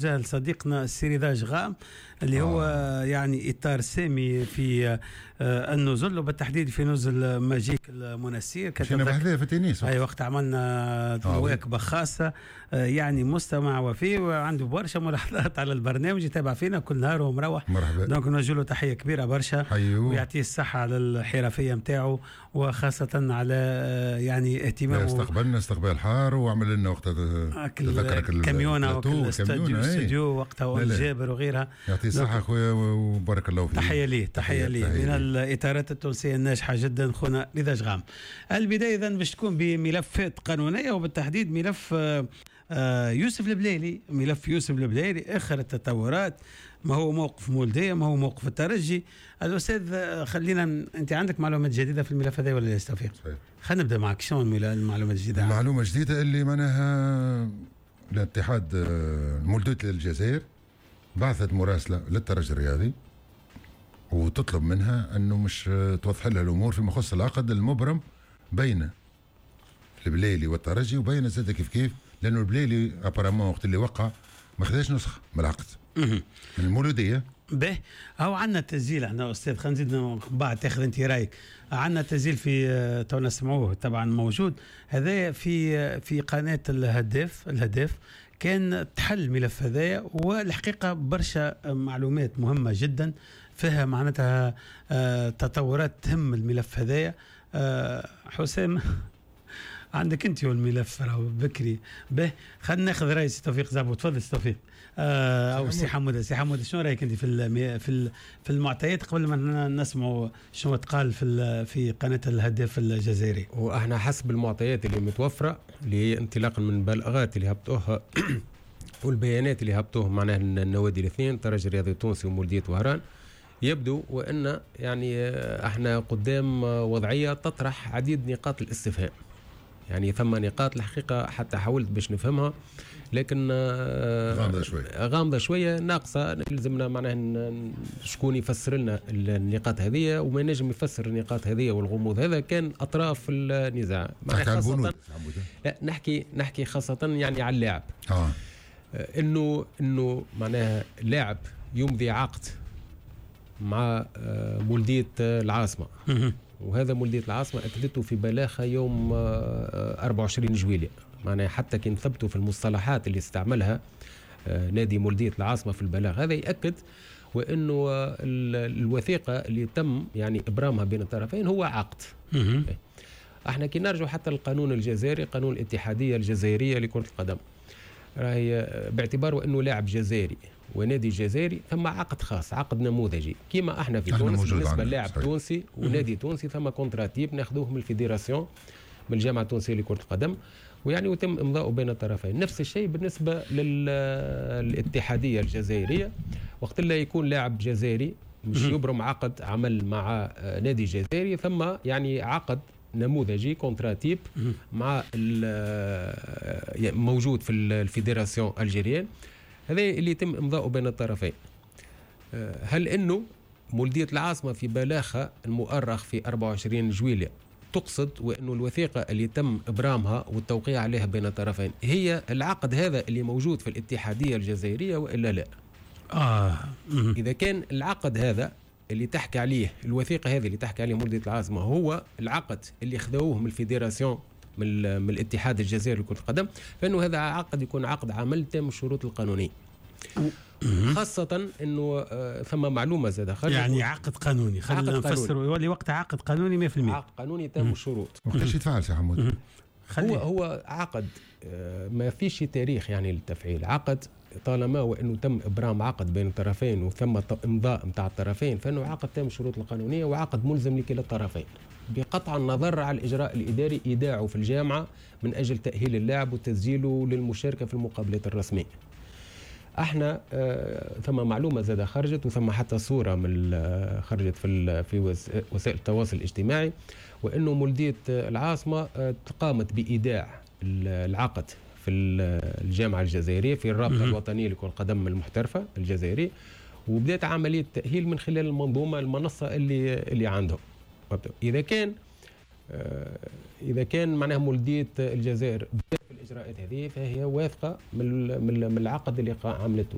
لصديقنا السي رضا جغام اللي هو يعني اطار سامي في النزل، وبالتحديد في نزل ماجيك المنسير. كنا بحذاه في تونس. اي وقت عملنا مواكبة خاصة، يعني مستمع وفي وعنده برشا ملاحظات على البرنامج، يتابع فينا كل نهار ومروح. مرحبا. donc نوجه له تحية كبيرة برشا ويعطيه الصحة على الحرفية نتاعو، وخاصة على يعني اهتمامه. استقبلنا استقبال حار وعمل لنا وقت تذكرك كاميونه استوديو وقتها جابر وغيرها. يعطيه الصحة اخويا وبارك الله فيك. تحية ليه، تحية ليه من الإطارات التونسية الناجحة جدا خونا رضا جغام. البداية إذا باش تكون بملفات قانونية، وبالتحديد ملف يوسف البلايلي. ملف يوسف البلايلي آخر التطورات، ما هو موقف مولدية، ما هو موقف الترجي. الأستاذ خلينا، أنت عندك معلومات جديدة في الملف هذا ولا لا توفيق؟ خلينا نبدأ معك، شنو المعلومات الجديدة؟ المعلومة الجديدة اللي معناها الاتحاد مولدية الجزائر بعثت مراسلة للترجي الرياضي وتطلب منها أنه مش توضح لها الأمور فيما يخص العقد المبرم بين البلايلي والترجي، وبين زاد كيف كيف، لأنه البلايلي apparemment وقت اللي وقع ما خداش نسخة من العقد من المولودية. به هو عندنا تسجيل احنا استاذ، خلينا نزيد بعد تاخذ انت رايك. عندنا تسجيل في تو نسمعوه طبعا موجود هذا في قناة الهداف. الهداف كان تحل الملف هذايا، والحقيقة برشا معلومات مهمة جدا فيها معناتها تطورات تهم الملف هذايا. حسام عندك انت والملف راهو بكري. به خلينا ناخذ راي سي توفيق زعبو. تفضل سي توفيق او سي حموده. سي حموده شنو رايك انت في في المعطيات قبل ما نسمعوا شنو تقال في قناة الهداف الجزائري؟ واحنا حسب المعطيات اللي متوفرة، اللي هي انطلاقا من البلاغات اللي هبطوها والبيانات اللي هبطوه معناها النوادي الاثنين الترجي الرياضي التونسي ومولديه وهران، يبدو وان يعني احنا قدام وضعية تطرح عديد نقاط الاستفهام. يعني ثم نقاط الحقيقة حتى حاولت باش نفهمها، لكن غامضة شوية، غامضة شوية ناقصة. لازمنا معناها شكون يفسر لنا النقاط هذه، وما نجم يفسر النقاط هذه والغموض هذا كان أطراف النزاع. خاصة لا نحكي خاصة يعني على اللاعب. إنه معناها لاعب يمضي عقد مع مولدية العاصمة، وهذا مولدية العاصمة أكدته في بلاغها يوم 24 جويلية. معناها حتى كي نثبتوا في المصطلحات اللي استعملها نادي مولدية العاصمة في البلاغ هذا، يأكد وأنه الوثيقة اللي تم يعني إبرامها بين الطرفين هو عقد. احنا كي نرجع حتى القانون الجزائري، قانون الاتحادية الجزائرية لكرة القدم، راهي باعتباره أنه لاعب جزائري ونادي جزائري ثم عقد خاص، عقد نموذجي كما احنا في تونس بالنسبة للاعب تونسي ونادي تونسي ثم contrat type ناخذوه من ال fédération من الجامعة التونسية لكرة القدم، ويعني وتم امضاؤه بين الطرفين. نفس الشيء بالنسبة للاتحاديه الجزائرية، وقت اللي يكون لاعب جزائري مش يبرم عقد عمل مع نادي جزائري، ثم يعني عقد نموذجي contrat type مع موجود في ال fédération algérienne، هذا اللي يتم امضاؤه بين الطرفين. هل انه مولدية العاصمة في بلاغها المؤرخ في 24 جويلية تقصد وانه الوثيقة اللي تم ابرامها والتوقيع عليها بين الطرفين هي العقد هذا اللي موجود في الاتحادية الجزائرية والا لا؟ اذا كان العقد هذا اللي تحكي عليه الوثيقة هذه اللي تحكي عليه مولدية العاصمة هو العقد اللي خذوه من ال fédération من الاتحاد الجزائري لكرة القدم، فإنه هذا عقد يكون عقد عمل تام الشروط القانونية. خاصة أنه ثم معلومة زاد خرجت، يعني عقد قانوني، خلينا نفسر يولي وقت عقد قانوني 100%، عقد قانوني تام الشروط. وقتاش يتفعل سي حمود؟ هو عقد ما فيش تاريخ يعني للتفعيل. عقد طالما وانه تم ابرام عقد بين الطرفين وثم امضاء نتاع الطرفين، فانه عقد تام الشروط القانونية وعقد ملزم لكلا الطرفين، بقطع النظر على الاجراء الاداري ايداعه في الجامعة من اجل تاهيل اللاعب وتسجيله للمشاركة في المقابلات الرسمية. احنا ثم معلومة زاد خرجت، وثم حتى صوره من خرجت في وسائل التواصل الاجتماعي، وانه مولديه العاصمة قامت بايداع العقد في الجامعة الجزائرية في الرابطة الوطنية لكرة القدم المحترفه الجزائرية، وبدات عملية تاهيل من خلال المنظومة المنصة اللي عندهم. اذا كان معناها مولديه الجزائر بدات في الاجراءات الاجراءات هذه فهي واثقة من العقد اللي عملته.